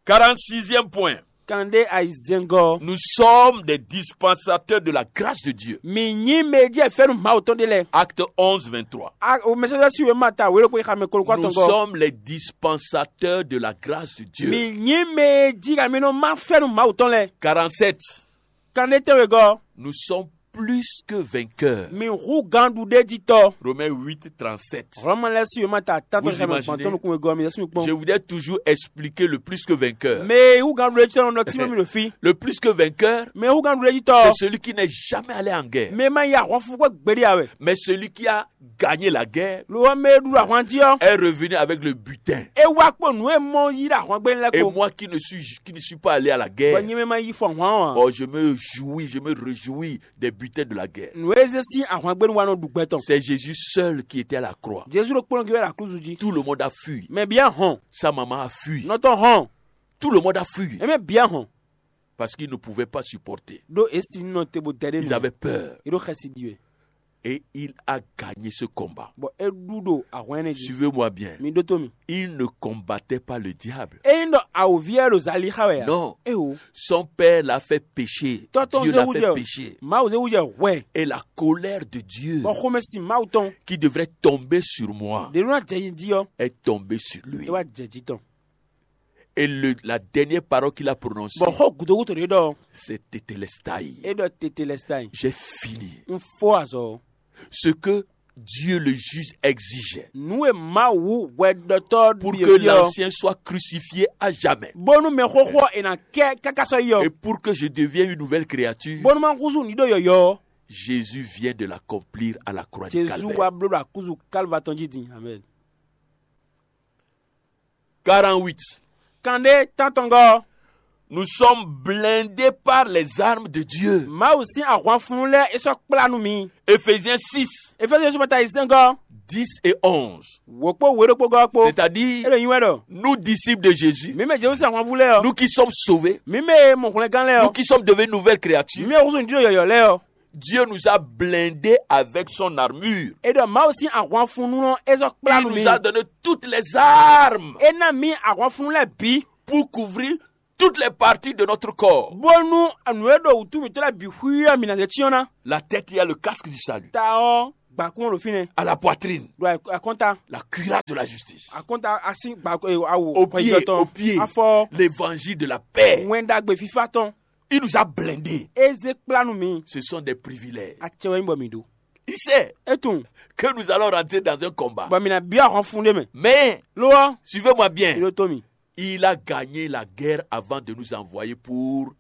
Quarante-sixième point. Kan ɖé ayizɛngɔ. Nous sommes des dispensateurs de la grâce de Dieu. Mi nyí mɛ jɛ fɛnu Mawu tɔn ɖe lɛ. Acte onze, vingt-trois. A o mɛsɛsɛ si wɛ ma ta wele ko xamɛ kolo kɔ Nous tɔn gɔ. Sommes les dispensateurs de la grâce de Dieu. Mi nyí mɛ jí ka mi nɔ ma fɛnu Mawu tɔn lɛ. Quarante-sept. Kan ɖé tɛnwe gɔ. Nous sommes plus que vainqueurs. Mi hu gan ɖu ɖe jí tɔ. Romains huit, trente-sept. Hlɔmɔ lɛ si wɛ ma ta tantɔ Vous xamɛ imaginez? Gbɔn tɔn nukun gɔ mi lɛ si mi Je kpɔn. Voudrais toujours expliquer le plus que vainqueur. Mɛ hu gan ɖu ɖe jí tɔ nɔ tí mi ɖo fi. Le plus que vainqueur, Mɛ hu gan ɖu ɖe jí tɔ. C'est celui qui n'est jamais allé en guerre. Mɛ ma yi ahwanfu kpɔ gbeɖi awɛ. Mais celui qui a gagné la guerre Lo wɔ mɛ ɖu ahwan jí ɔ. Est revenu avec le butin. E wa kpɔ nu e mɔ yi ɖe ahwan gbé lɛ Et ko. Moi qui ne suis, qui ne suis pas allé à la Bɔ guerre, nyɛ mɛ ma yi fɔ ahwan ɔ. Oh, je me jouis, je me réjouis des butins de la guerre. Nu e zé sín ahwan gbé nu wa nɔ ɖu gbɛ tɔn. C'est Jésus seul qui était à la croix. Jesu ɖo kplɔn gbe la kluzu jí. Tout le monde a fui. Mɛ bia hɔn. Sa maman a fui. Nɔtɔ hɔn. Tout le monde a fui. Eme bia hɔn. Parce qu'ils ne pouvaient pas supporter. Ɖo esi nɔ te bo dɛ ɖe Ils avaient peur. Eɖo xɛsi ɖi wɛ. Et il a gagné ce combat. Bɔ e ɖu ɖo ahwan ɛnɛ jí. Suivez-moi bien. Mi ɖótó mi. Il ne combattait pas le diable. Eyin ɖɔ awòvi yɛ ɖo zali xa wɛ ya. Non. Ewo. Son père l'a fait pécher. Tɔtɔn Dieu l'a fait pécher. Mawu zé wujɛ hwɛ. Et la colère de Dieu. Bɔ xomɛ si Mawu tɔn. Qui devrait tomber sur moi. Ɖe nɔ jɛ yi jí ɔ. Est tombée sur lui. E wa jɛ jí tɔn. Et le- la dernière parole qu'il a prononcée, Bɔ xó gudogúdo ɖé ɖɔ, c'est Tetelestai. É ɖɔ Tetelestai. J'ai fini. Un fó azɔ. Ce que Dieu le juge exige. Nǔ e Mawu hwɛɖɔtɔ́ Pour que l'ancien soit crucifié à jamais. Bónú mɛ xóxó ɔ́ è nǎ kɛ káká sɔ́ yi ɔ́. Et pour que je devienne une nouvelle créature, Bónú má húzú nǔ ɖó yɔ̌yɔ́ ɔ́. Jésus vient de l'accomplir à la croix de Jezu Calvaire. Wá bló ɖo akúzu Kalva tɔn jí din. Amen. Quarante-huit. Kanɖé tántɔngɔ́. Nous sommes blindés par les armes de Dieu. Mawu sín ahwanfunu lɛ́ɛ é sɔ́ kplá nú mi. Éphésiens six, Eféziyɛn sɔ́ mata yi sɛ́ngɔ́. Dix et onze. Wǒ kpó wě ɖokpó gɔ́ kpó. C'est-à-dire, É ɖo nyi wɛ ɖɔ. Nous disciples de Jésus, Mǐ mɛ Jezu sín ahwanvú lɛ́ɛ ɔ́. Nous qui sommes sauvés, Mǐ mɛ e mɔ hwlɛngán lɛ́ɛ nous ɔ́. Qui sommes devenus nouvelles créatures, Mǐ mɛ húzú nǔ ɖó yɔ̌yɔ́ lɛ́ɛ ɔ́. Dieu nous a blindés avec son armure. É ɖɔ Mawu sín ahwanfunu ɔ́ é sɔ́ kplá Il nú mi. Nous a donné toutes les armes É ná mǐ ahwanfunu lɛ́ɛ bǐ. Pour couvrir toutes les parties de notre corps. Bónú nǔ e ɖo wǔtu mǐtɔn lɛ́ɛ bǐ xwíí ɔ́ mǐ ná zé cyɔ́n ná. La tête, il y a le casque du salut. Ta ɔ́, gbǎkún ɔ́ ɖo fínɛ́. À la poitrine, Ɖo akɔ́nta, la cuirasse de la justice. Akɔ́nta asín gbǎkún awu Au pied, au pied, afɔ, l'évangile de la paix. Wɛn ɖagbe fífá tɔn. Il nous a blindés. É zé kplá nú mi. Ce sont des privilèges. Acɛ wɛ nyí bɔ mǐ ɖó. Il sait É tunwun. Que nous allons rentrer dans un combat. Bɔ mǐ ná byɔ́ ahɔnfún ɖé mɛ. Mais, Lo ɔ́, suivez-moi bien. Ɖó tó mì. Il a gagné la guerre avant de nous envoyer pour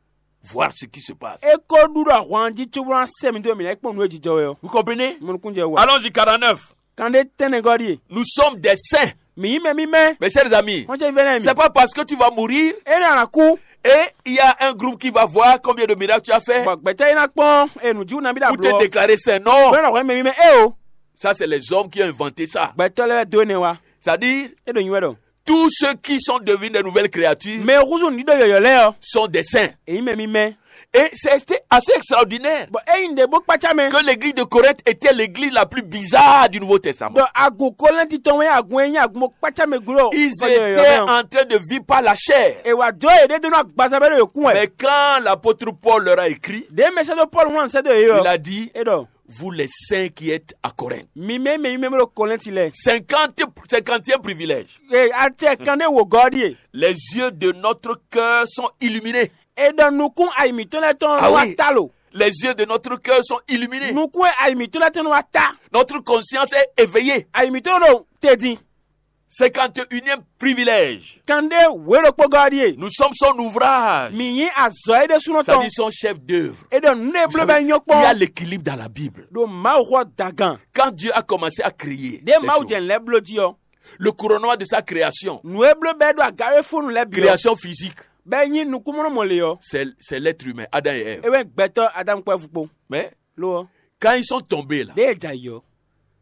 voir ce qui se passe. É ko ɖu ɖo ahwan jí cóbó ná sɛ mǐtɔn mǐ ná yi kpɔ́n nǔ e jijɔ wɛ ɔ́. Vous comprenez? Mo nukún jɛ wá. Allons-y, quarante-neuf. Kanɖé tɛnɛgɔ́ ɖíe. Nous sommes des saints. Mǐ nyí mɛ mímɛ́. Mes chers amis, Xɔ́njɛ vɛ́nɛ́ mi. C'est pas parce que tu vas mourir É nɔ ana kú. Et il y a un groupe qui va voir combien de miracles tu as fait. Bɔ gbɛtɔ́ é ná kpɔ́n e nǔjíwú nabí ɖo Pour te ablo ɔ́. Déclarer saint. Non. Bɔ é nɔ hwɛ́ mɛ mímɛ́ é o. Ça, c'est les hommes qui ont inventé ça. Gbɛtɔ́ lɛ́ɛ wɛ dó énɛ́ wá. C'est-à-dire, É ɖo nyi wɛ ɖɔ. Tous ceux qui sont devenus de nouvelles créatures Mɛ húzú ní ɖo yɔ̌yɔ́ lɛ́ɛ ɔ́. Sont des saints. Èyí mɛ mímɛ́. Et c'était assez extraordinaire Bɔ é nyí ɖě bó kpácá mɛ. Que l'église de Corinthe était l'église la plus bizarre du Nouveau Testament. Ɖɔ agun Kɔlɛ́nti tɔn wɛ agun e nyí agun bó kpácá mɛ gbló. Ils étaient en train de vivre par la chair. È wǎ dó yěɖée dó nú agbaza bɛ́ ɖo yě kún wɛ. Mais quand l'apôtre Paul leur a écrit, Ɖě mɛ sɛ́ dó Pɔ́lu wlán sɛ́ dó yě il ɔ́. A dit, È ɖɔ. Vous les saints qui êtes à Corinthe. Mi mɛ mɛ mi mɛ ɖo Kɔlɛ́nti lɛ́ɛ. Cinquante, cinquante et un privilège. Ee, acɛ kan ɖé wò gɔ́ ɖíe. Les yeux de notre cœur sont illuminés. È ɖɔ nukún ayi mǐtɔn lɛ́ɛ tɔn Ah wá oui. Ta lo. Les yeux de notre cœur sont illuminés. Nukún e ayi mǐtɔn lɛ́ɛ tɔn wá ta. Notre conscience est éveillée. Ayi mǐtɔn ɖo te din. Cinquante et unième privilège. Kan ɖé wě ɖokpó gɔ́ ɖíe. Nous sommes son ouvrage. Mǐ nyí azɔ̌ é ɖésúnɔ C'est-à-dire tɔn. Son chef d'œuvre. È ɖɔ nǔ e bló bɛ nyɔ́ Il y a kpɔ́n. L'équilibre dans la Bible. Ɖo Mawu xɔ dagan. Quand Dieu a commencé à créer Ɖé les Mawu choses, jɛ nǔ lɛ́ɛ bló jí ɔ́. Le couronnement de sa création, Nǔ e bló bɛ ɖo aga é fónú lɛ́ɛ bǐ ɔ́. Création physique, Bɛ nyí nukúnmɔnɔmɔ lě ɔ́. C'est, c'est l'être humain, Adam et Ève. É wɛ gbɛtɔ́ Adamu kpó Ɛvu kpó. Mais Lo ɔ́. Quand ils sont tombés là, Ɖé e jɛ ayǐ ɔ́.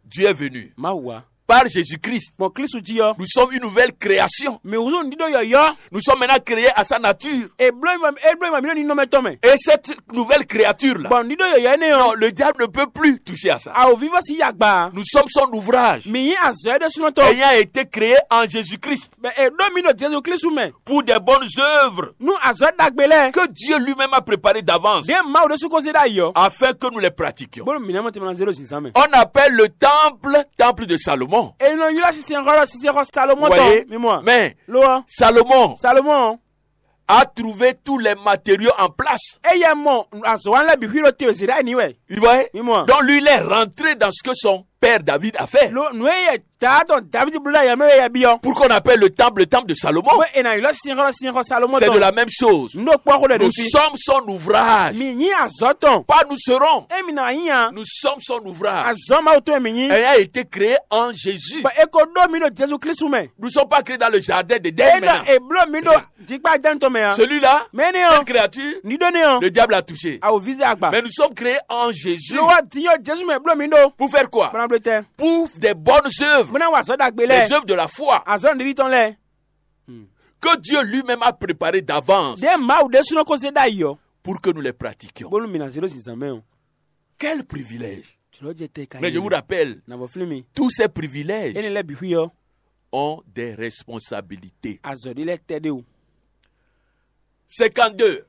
Dieu est venu. Mawu wá. Par Jésus-Christ, Gbɔn Klísu jí ɔ́. Nous sommes une nouvelle création. Mǐ húzú nǔɖíɖó yɔ̌yɔ́. Nous sommes maintenant créés à sa nature. È bló mì é bló mì mǐ ɖo ninɔmɛ tɔn mɛ. Et cette nouvelle créature-là, Bɔ nǔɖíɖó yɔ̌yɔ́ énɛ́ non, ɔ́. Le diable ne peut plus toucher à ça. Awǒvívɔ́ sí yí agba. Nous sommes son ouvrage. Mǐ nyí azɔ̌ é ɖésúnɔ tɔn. Ayant été créé en Jésus-Christ. Bɔ è ɖó mì ɖo Jezu Klísu mɛ. Pour des bonnes œuvres Nú azɔ̌ ɖagbe lɛ́ɛ. Que Dieu lui-même a préparées d'avance. Ɖě Mawu ɖésú ko zé ɖ'ayǐ ɔ́. Afin que nous les pratiquions. Bónú mǐ ná mɔ tɛnmɛ ná zé ɖo zǐnzán mɛ. On appelle le temple, temple de Salomon. È nɔ ylɔ́ sinsɛnxɔ ɖɔ sinsɛnxɔ Salomɔ́ Vous voyez? Tɔn. Mi mɔ. Mais Lo ɔ́. Salomon Salomɔ́ ɔ́. A trouvé tous les matériaux en place. Éyɛ́ mɔ azɔ̌wanlɛ́ bǐ xwí ɖo te zǐɖá ní wɛ. Vous voyez? Mi mɔ. Donc lui, il est rentré dans ce que son père David a fait. Lo nǔ e yɛ daa tɔn David bló ɖo ayɛmɛ wɛ yɛ byɔ́. Pour qu'on appelle le temple le temple de Salomon. Bó è nǎ ylɔ́ sinsɛnxɔ sinsɛnxɔ Salomɔ́ C'est de tɔn. La même chose. Nǔ ɖo kpɔ́ xó ɖɛ Nous ɖo fí. Sommes son ouvrage. Mi nyí azɔ̌ tɔn. Pas nous serons. Émi nɔ nyí a. Nous sommes son ouvrage. Azɔ̌ Mawu tɔn e mi nyí. Ayant été créé en Jésus. Bɔ è ko ɖó mi ɖo Jezu Klísu mɛ. Nous ne sommes pas créés dans le jardin d'Éden. É ɖɔ maintenant. È bló mi ɖo jikpá Adán tɔn mɛ a. Celui-là, Mɛ énɛ́ ɔ́. Cette créature, Ní ɖó nɛ́ ɔ́. Le diable a touché. Awo vize agba. Mais nous sommes créés en Jésus. Ló wá dín yɔ Jesu mɛ bló mi ɖó. Pour faire quoi? Bana bló tɛ. Pour des bonnes œuvres. Bó ná wà azɔ̌ ɖagbe lɛ́ɛ. Les œuvres de la foi. Azɔ̌ nɖiɖi tɔn lɛ́ɛ. Que Dieu lui-même a préparé d'avance. Ɖé Mawu ɖésúnɔ ko zé ɖ'ayǐ ɔ́. Pour que nous les pratiquions. Bónú mǐ ná zé ɖó zǐnzán mɛ ɔ́. Quel privilège! Jlɔ̌ jɛ tɛ ka Mais je vous rappelle, Navɔ flín mi. Tous ces privilèges Énɛ́ lɛ́ɛ bǐ xwí ɔ́. Ont des responsabilités. Azɔ̌ ɖé lɛ́ɛ tɛ ɖé o. Cinquante-deux.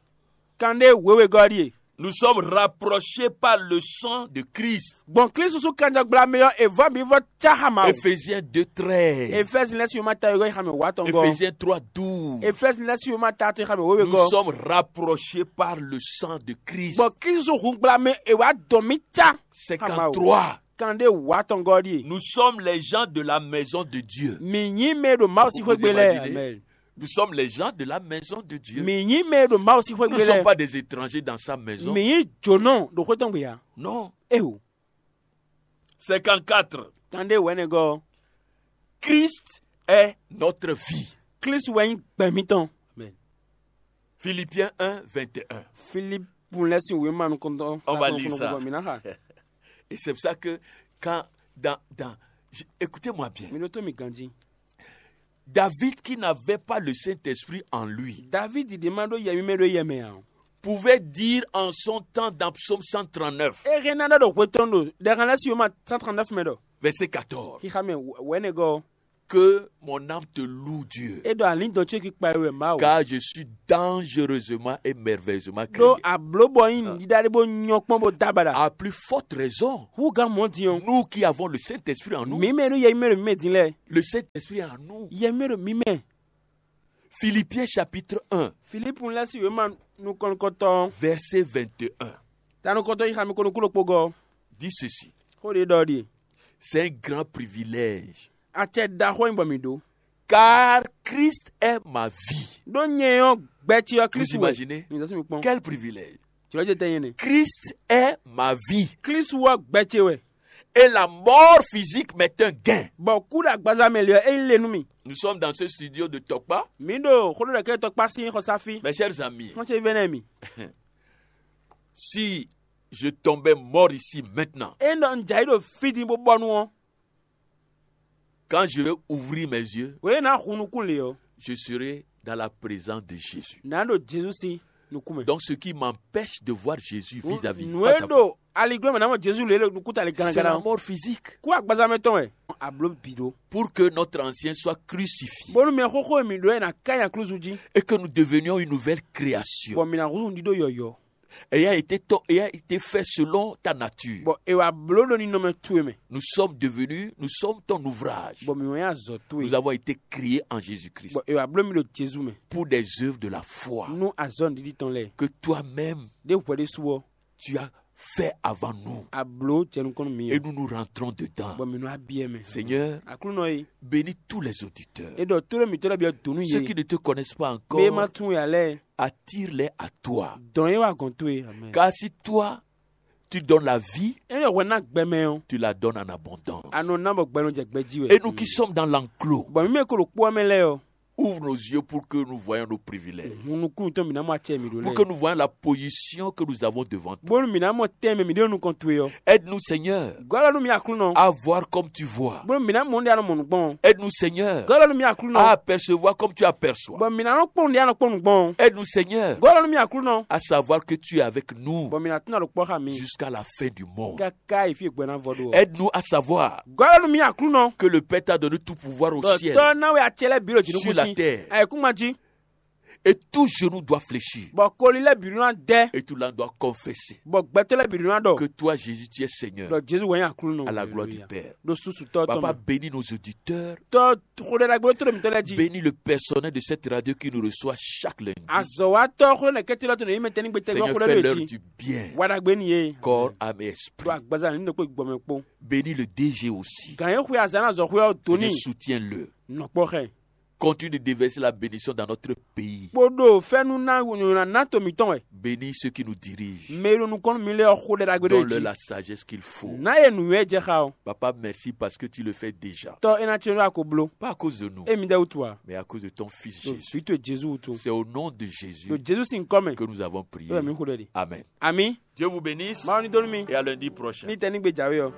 Kanɖé wěwé gɔ́ ɖíe. Nous sommes rapprochés par le sang de Christ. Gbɔn Klísu sú kanjɔgbla mɛ ɔ́, è vɔ́ mǐ vɔ́ cá xá Mawu. Éphésiens deux treize. Efɛ́zi lɛ́ sín wěma ta yɔ́yɔ́ xá mɛ wǎ tɔn gɔ́. Éphésiens trois douze. Efɛ́zi lɛ́ sín wěma ta tɔn xá mɛ wěwe Nous gɔ́. Sommes rapprochés par le sang de Christ. Gbɔn Klísu sú hun gbla mɛ è wǎ dɔn mí cá. Xá Mawu. Cinquante-trois. Kanɖé wǎ tɔn gɔ́ ɖíe. Nous sommes les gens de la maison de Dieu. Mǐ nyí mɛ e ɖo Mawu sín Vous xwé gbe vous lɛ́ɛ. Imaginez? Amen. Nous sommes les gens de la maison de Dieu. Mǐ nyí mɛ e ɖo Mawu sín xwé Nous gbe ne sommes lɛ́ɛ. Pas des étrangers dans sa maison. Mǐ nyí jǒnɔ ɖo xwé tɔn gbe ǎ. Non. Éwo. Cinquante-quatre. Kanɖé wɛ̌nɛgɔ́. Christ est notre vie. Klísu wɛ nyí gbɛ mǐtɔn. Amen. Philippiens un, vingt et un. Filipu lɛ́ sín wěma nukɔntɔn. On va lire ça. Mǐ ná xa. Et c'est pour ça que quand dans, dans, je- écoutez-moi bien. Mi ɖótó mi ganjí. David qui n'avait pas le Saint-Esprit en lui Davidi ɖě ma ɖó yɛ mímɛ́ ɖó yɛ mɛ ǎ. Pouvait dire en son temps dans Psaume cent trente-neuf, É hɛn ná ɖɔ ɖo hwe tɔn ɖo ɖɛhan lɛ́ sín wěma cent trente-neuf mɛ ɖɔ. Verset quatorze. Xixa mɛ wɛ̌nɛgɔ́. Que mon âme te loue Dieu. É ɖɔ alǐndɔn ce kí kpa wɛ Mawu. Car je suis dangereusement et merveilleusement créé. Ɖó ablǒ bɔ nyí nǔɖíɖá ɖé bó nyɔ́ kpɔ́n bó dó abaɖa. À plus forte raison, Hú gán mɔ̌ din ɔ́. Nous qui avons le Saint-Esprit en nous, Mǐ mɛ ɖó yɛ mímɛ́ ɖo mǐ mɛ din lɛ́ɛ. Le Saint-Esprit est en nous. Yɛ mímɛ́ ɖo mǐ mɛ. Philippiens chapitre un, Filipu lɛ́ sín wěma nukɔn nukɔntɔn. Verset vingt et un. Ta nukɔntɔn yi xami ko nukúnɖokpó gɔ́. Dit ceci. Xó ɖé ɖɔ ɖíe. C'est un grand privilège. Acɛ ɖaxó nyí bɔ mǐ ɖó. Car Christ est ma vie. Ɖó nyɛ ɔ́, gbɛ ce ɔ́ Vous Kristu wɛ. Imaginez? Mi zɔ sí mi kpɔ́n. Quel privilège. Jlɔ́ ce tɛ nyɛ nɛ. Christ est ma vie. Kristu ɔ́ gbɛ ce wɛ. Et la mort physique m'est un gain. Bɔ kú ɖo agbaza mɛ lě ɔ́, é nyí le nú mì. Nous sommes dans ce studio de Tokpa. Mǐ ɖo xó ɖo ɖɛ̌kɛ́ tɔkpá sín xɔsáfí. Mes chers amis, Xɔ́n ce vɛ́nɛ́ mì. Si je tombais mort ici maintenant, É nɔ un jǎ yi ɖo fí din bó bɔnu ɔ́. Quand je vais ouvrir mes yeux, Wě ná hun nukún lě ɔ́. Je serai dans la présence de Jésus. Nǎ ɖo Jezu sín nukún mɛ. Donc ce qui m'empêche de voir Jésus vis-à-vis, Nǔ e ɖo aliglɔ́ mɛ ná mɔ Jezu lě ɖo nukúnta lě c'est gánagánná la ɔ́. Mort physique. Kú agbaza mɛ tɔn wɛ. Abló bǐ ɖó. Pour que notre ancien soit crucifié. Bónú mɛ xóxó e mǐ ɖó ɛ ná ká nyi aklúzu jí. Et que nous devenions une nouvelle création. Bɔ mǐ ná húzú ɖíɖó yɔ̌yɔ́. Ayant été, to- ayant été fait selon ta nature. Bɔ è wǎ bló ɖo ninɔmɛ towe mɛ. Nous sommes devenus, nous sommes ton ouvrage. Bɔ mǐ wɛ nyí azɔ̌ towe. Nous avons été créés en Jésus-Christ. Bɔ è wǎ bló mì ɖo Jezu mɛ. Pour des œuvres de la foi. Nú azɔ̌ nǔɖiɖi tɔn lɛ́ɛ. Que toi-même, Ɖé hwɛ ɖésú ɔ́. Tu as fait avant nous. A bló jɛ nukɔn nú mǐ. Et nous nous rentrons dedans. Bɔ mǐ nɔ abyɛ mɛ. Seigneur, Aklúnɔ e. Bénis tous les auditeurs. E ɖɔ tóɖó mǐtɔn lɛ́ɛ byɔ́ donu. Ceux yé. Qui ne te connaissent pas encore, Bé ma tún ya lɛ́ɛ. Attire-les à toi. Dɔn yé wá gɔn towe. Amen. Car si toi, tu donnes la vie, E yɔ hwɛ ná gbɛ mɛ ɔ́. Tu la donnes en abondance. A nɔ ná bɔ gbɛ nɔ jɛ gbɛ jí wɛ. Et nous qui sommes dans l'enclos, Bɔn mǐ mɛ ko ɖo kpó ɔ́ mɛ lɛ́ɛ ɔ́. Ouvre nos yeux pour que nous voyons nos privilèges. Hun nukún tɔn mǐ ná mɔ acɛ mǐ ɖó lɛ́ɛ. Pour que nous voyons la position que nous avons devant toi. Bónú mǐ ná mɔ tɛn mɛ mǐ ɖo nukɔn towe ɔ́. Aide-nous, Seigneur, Gɔ́ lɔ nú mǐ Aklúnɔ. À voir comme tu vois. Bónú mǐ ná mɔ nǔɖé a nɔ mɔ nǔ gbɔn. Aide-nous, Seigneur, Gɔ́ lɔ nú mǐ Aklúnɔ. À apercevoir comme tu aperçois. Bɔ mǐ ná nɔ kpɔ́n nǔɖé a nɔ kpɔ́n nǔ gbɔn. Aide-nous, Seigneur, Gɔ́ lɔ nú mǐ Aklúnɔ. À savoir que tu es avec nous. Bɔ mǐ ná tún ná ɖo kpɔ́ xá mi. Jusqu'à la fin du monde. Káká yi fí e gbɛ ná vɔ ɖó ɔ́. Aide-nous à savoir Gɔ́ lɔ nú mí Aklúnɔ. Que le Père t'a donné tout pouvoir au ciel, Tɔ́ ná wɛ acɛ lɛ́ɛ bǐ ɖo sur la jǐnukúnsin. Terre. Ayǐkúngban jí. Et tout genou doit fléchir. Bɔ koli lɛ́ɛ bǐ ɖó ná dɛ. Et tout langue doit confesser. Bɔ gbɛtɔ́ lɛ́ɛ bǐ ɖó ná ɖɔ. Que toi, Jésus, tu es Seigneur. Ɖɔ Jezu wɛ nyí Aklúnɔ. À la gloire du Père. Ɖo susu tɔ́ tɔn. Papa, bénis nos auditeurs. Tɔ́ xó ɖé ɖagbe tó ɖo mǐtɔn lɛ́ɛ jí. Bénis le personnel de cette radio qui nous reçoit chaque lundi. Azɔ̌watɔ́ xó ɖé nɛkɛ́tɛ́ lɔ́ tó nɔ yí mɛ tɛ́ ní gbé tɛ́ Seigneur, gbɔ xó ɖé fais-leur mɛ jí. Du bien. Wa ɖagbe n'i yé. Corps, âme et esprit. Ɖo agbaza ní ɖokpó gbɔmɛ kpó. Bénis le D G aussi. Gǎn e xwe azǎn azɔ̌xwé ɔ́ dó Seigneur, n'i. Soutiens-le. Nɔkpɔ́ xɛ. Continue de déverser la bénédiction dans notre pays. Kpóɖo fɛ́nú ná nyɔ̌ná ná to mǐtɔn wɛ. Bénis ceux qui nous dirigent. Mɛ e ɖo nukɔn nú mi lɛ́ɛ ɔ́ xo ɖɛ ɖagbe ɖó Donne-leur jí. La sagesse qu'il faut. Ná yɛ nǔnywɛ́ jɛ xa ɔ́. Papa, merci parce que tu le fais déjà. Tɔ́ é ná cyɔ́n ɖó ako bló. Pas à cause de nous, É mi ɖɛ wútu ǎ. Mais à cause de ton Fils Ɖo Jésus. Vǐ towe Jezu wútu. C'est au nom de Jésus Ɖo Jezu sín kɔ́ mɛ. Que nous avons prié. É wɛ mǐ xo ɖɛ ɖi. Amen. Amǐ. Dieu vous bénisse. Mawu ní dó nú mi. Et à lundi prochain. Ní tɛ́ ní gbe jǎwe ɔ́.